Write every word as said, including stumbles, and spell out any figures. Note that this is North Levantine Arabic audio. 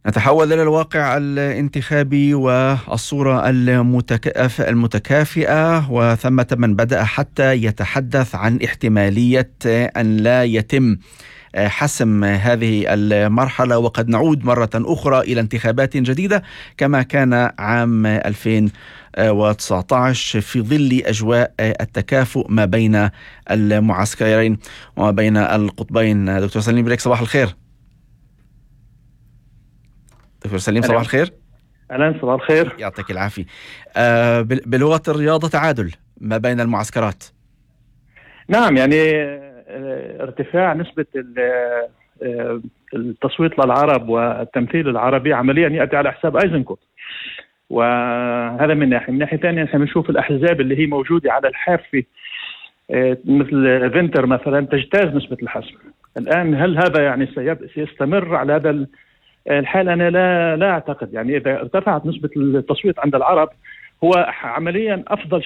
نتحول إلى الواقع الانتخابي والصورة المتكاف المتكافئة، وثمة من بدأ حتى يتحدث عن احتمالية أن لا يتم حسم هذه المرحلة، وقد نعود مرة أخرى إلى انتخابات جديدة كما كان عام ألفين وتسعة عشر في ظل أجواء التكافؤ ما بين المعسكرين وما بين القطبين. دكتور سليم بريك، صباح الخير. دكتور سليم صباح الخير. أهلا، صباح الخير، يعطيك العافية. آه بلغة الرياضة، تعادل ما بين المعسكرات. نعم، يعني ارتفاع نسبة التصويت للعرب والتمثيل العربي عمليا يأتي على حساب أيزنكوت، وهذا من ناحية. من ناحية ثانية نحن نشوف الأحزاب اللي هي موجودة على الحافة مثل فينتر مثلا تجتاز نسبة الحسم الآن. هل هذا يعني سيستمر على هذا الحال؟ أنا لا لا أعتقد. يعني إذا ارتفعت نسبة التصويت عند العرب هو عمليا أفضل